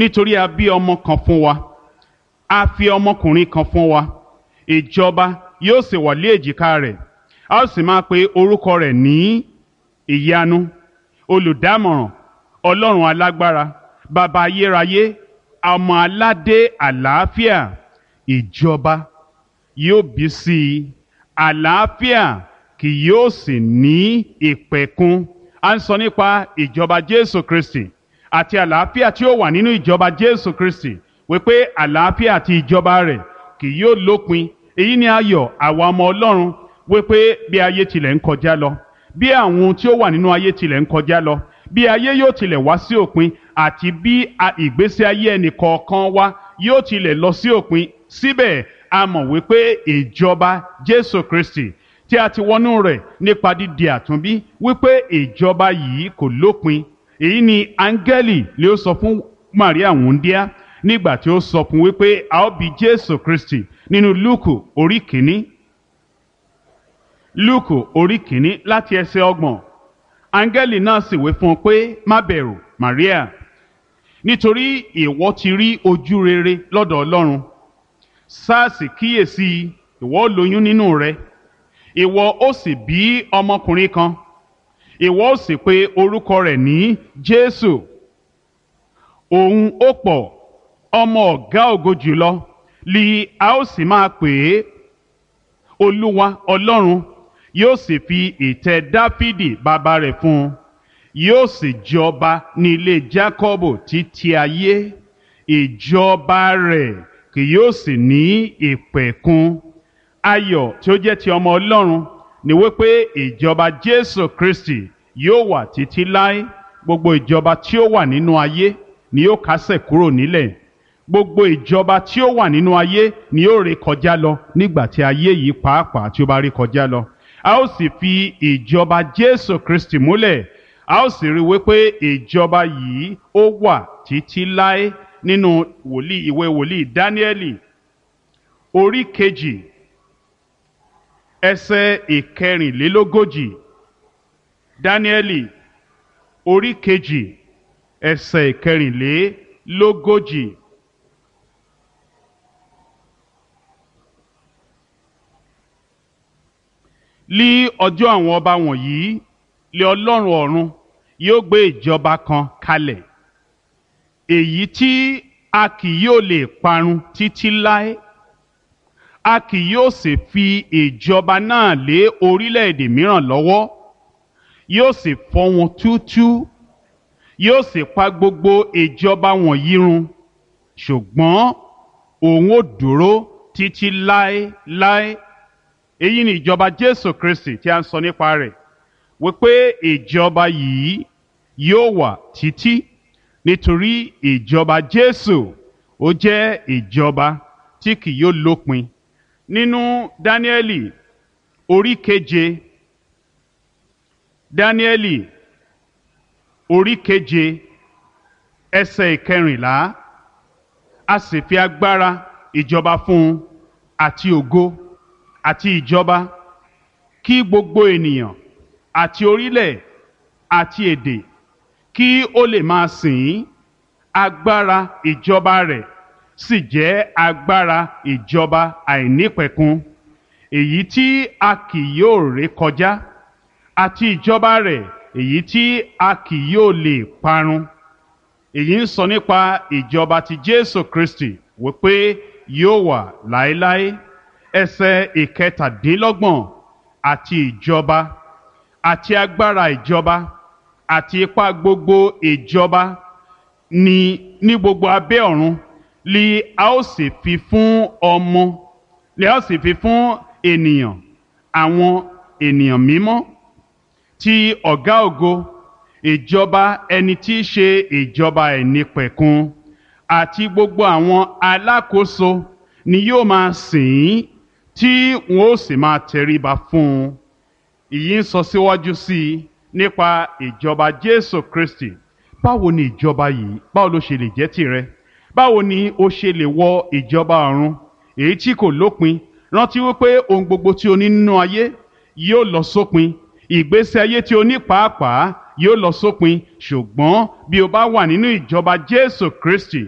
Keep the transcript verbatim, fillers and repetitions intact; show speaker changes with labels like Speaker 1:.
Speaker 1: Nítorí a bí ọmọ kan fún wa, a fi ọmọkùnrin kan fún wa, ìjọba yóò sì wà lé èjìká rẹ̀. A ó sì máa pe orúkọ rẹ̀ ní Ìyanu, Olùdámọ̀ràn, Ọlọ́run Alágbára, Bàbá Ayérayé, Ọmọ Aládé Àlàáfíà. Ìjọba yóò bí sí i, àlàáfíà kì yóò sì ní ìpẹ̀kun. A ń sọ nípa ìjọba Jésù Kristi àti àlàáfíà tí ó wà nínú ìjọba Jésù Kristi, wípé àlàáfíà àti ìjọba rẹ̀ kì yóò lópin. Èyí ni ayọ̀ àwa ọmọ Ọlọ́run, wípé bí ayé tilẹ̀ ń kọjá lọ, bí àwọn ohun tí ó wà nínú ayé tilẹ̀ ń kọjá lọ, bí ayé yóò tilẹ̀ wá sí òpin, àti bí ìgbésí ayé ẹnì kọ̀ọ̀kan wa yóò tilẹ̀ lọ sí òpin, síbẹ̀ a mọ̀ wípé ìjọba Jésù Kristi tí a ti wọnú rẹ̀ nípa dídi àtúnbí, wípé ìjọba yìí kò lópin. Èyí ni áńgẹ́lì lè ó sọ fún Màríà wúńdíá nígbà tí ó sọ fún wípé a ó bí Jésù Kristi nínú Lúùkù orí kìíní. Lúùkù orí kìíní láti ẹsẹ̀ ọgbọ̀n. Áńgẹ́lì náà sì wí fún un pé, má bẹ̀rù, Màríà, nítorí ìwọ ti rí ojú rere lọ́dọ̀ Ọlọ́run. Sáàsì kíyèsí, ìwọ ó lóyún nínú rẹ, ìwọ ó sì bí ọmọkùnrin kan, ìwọ ó sì pe orúkọ rẹ̀ ní Jésù. Òun ó pọ̀, ọmọ ọ̀gá ògo jùlọ li a ó sì máa pè é. Olúwa Ọlọ́run yóò sì fi ìtẹ́ Dáfídì bàbá rẹ̀ fún un, yóò sì jọba ní ilé Jákọ́bù títí ayé, ìjọba rẹ̀ kì yóò sì ní ìpẹ̀kun. Ayọ̀ tí ó jẹ́ ti ọmọ Ọlọ́run ni wípé ìjọba Jésù Kristi yóò wà títí láé. Gbogbo ìjọba tí ó wà nínú ayé ni yóò kásẹ̀ kúrò nílẹ̀. Gbogbo ìjọba tí ó wà nínú ayé ni yóò ré kọjá lọ nígbà tí ayé yìí pàápàá tí ó bá ré kọjá lọ. A ó sì fi ìjọba Jésù Kristi múlẹ̀. A ó sì rí wípé ìjọba yìí ó wà títí láé nínú wòlíì ìwé wòlíì Dáníẹ́lì orí kejì ẹsẹ̀ ìkẹrìnlélógójì. Dáníẹ́lì orí kejì ẹsẹ̀ ìkẹrìnlélógójì. Lí ọjọ́ àwọn ọba wọ̀nyí lé Ọlọ́run ọ̀run yóò gbé ìjọba kan kalẹ̀, èyí tí a kì yóò lè parun títí láé. A kì yóò sì fi ìjọba náà lé orílẹ̀-èdè mìíràn lọ́wọ́. Yóò sì fọ́ wọn túútúú, yóò sì pa gbogbo ìjọba wọ̀nyí run, ṣùgbọ́n òun ó dúró títí láéláé. Èyí ni ìjọba Jésù Kristi tí a ń sọ nípa rẹ̀, wípé ìjọba yìí yóò wà títí, nítorí ìjọba Jésù ó jẹ́ ìjọba tí kì yóò lópin. Nínú Dáníẹ́lì orí keje, Dáníẹ́lì orí keje ẹsẹ̀ ìkẹrìnlá, a sì fi agbára ìjọba fún un àti ògo àti ìjọba, kí gbogbo ènìyàn àti orílẹ̀ àti èdè kí ó lè máa sìn ín. Agbára ìjọba rẹ̀ sì jẹ́ agbára ìjọba àìnípẹ̀kun, èyí tí a kì yóò ré kọjá, àti ìjọba rẹ̀ èyí tí a kì yóò lè parun. Èyí ń sọ nípa ìjọba ti Jésù Kristi wípé yóò wà láéláé. Ẹsẹ̀ ìkẹtàdínlọ́gbọ̀n, àti ìjọba àti agbára ìjọba àti ipá gbogbo ìjọba ní ní gbogbo abẹ́ ọ̀run li a ó sì fi fún ọmọ, li a ó sì fi fún ènìyàn, àwọn ènìyàn mímọ́ ti ọ̀gá ògo, ìjọba ẹni tí í ṣe ìjọba ẹ̀nípẹ̀kun, àti gbogbo àwọn alákòóso ni yóò máa sìn ín, tí wọn ó sì máa tẹríba fún un. Ìyí ń sọ síwájú sí i nípa ìjọba Jésù Kristi. Báwo ni ìjọba yìí, báwo ló ṣe lè jẹ́ tìrẹ? Báwo ni o ṣe lè wọ ìjọba ọ̀run èyí tí kò lópin? Rántí wípé ohun gbogbo tí o ní nínú ayé yóò lọ sópin. Ìgbésí ayé tí o ní pàápàá yóò lọ sópin. Ṣùgbọ́n bí o bá wà nínú ìjọba Jésù Kristi,